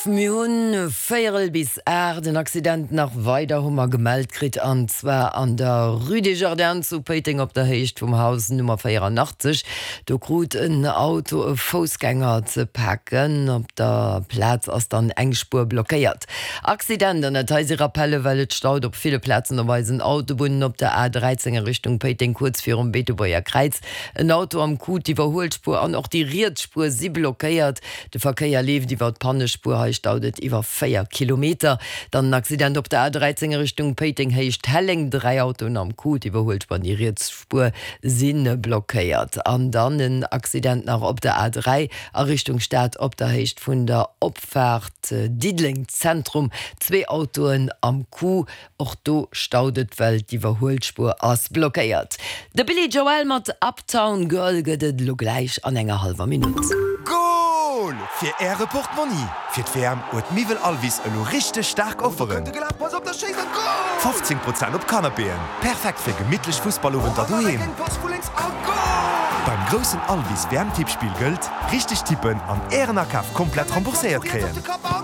Mir hunn véierel bis 8 en Accident nach weider hu mer gemellt kritt, an zwar an der Rue des Jardins zu Péiteng op der Héicht vum Haus Nummer 84. Do krut en Auto e Foussgänger ze paken. Op der Plaz ass dann eng Spuer blockéiert. Accident, an dat hei si Rappelle well et staut op ville Plazen op eisen Autobunnen, op der A 13 a Richtung Péiteng kuerz virum Beetebuerger Kräiz en Auto am Coup, d'Iwwerhuelspuer an och déi riets Spuer si blockéiert. De Verkéier leeft iwwer d'Pannespuer, hei staut et iwwer 4 Kilometer. Dann en Accident op der A13 a Richtung Péiteng Héicht Helleng, 3 Autoen am Coup, d'Iwwerhuelspuer an déi riets Spuer si blockéiert. An dann en Accident nach op der A3 a Richtung Stad op der Héicht vun der Opfaart Diddeleng Zentrum, zwee Autoen am Coup. Och do staut et, well d'Iwwerhuelspuer ass blockéiert. De Billy Joel mat Uptown Girl gëtt et elo gläich an enger hallwer Minutt. Goal fir äre Portmonni! Fir d'WM huet Miwwel Alvis elo richteg staark Offeren! 15 Prozent op Canapéen, perfekt fir gemittlech Fussballowenter doheem! Beim groussen Alvis WM-Tippspill gëllt, Richteg tippen an ären Akaf komplett rembourséiert kréien!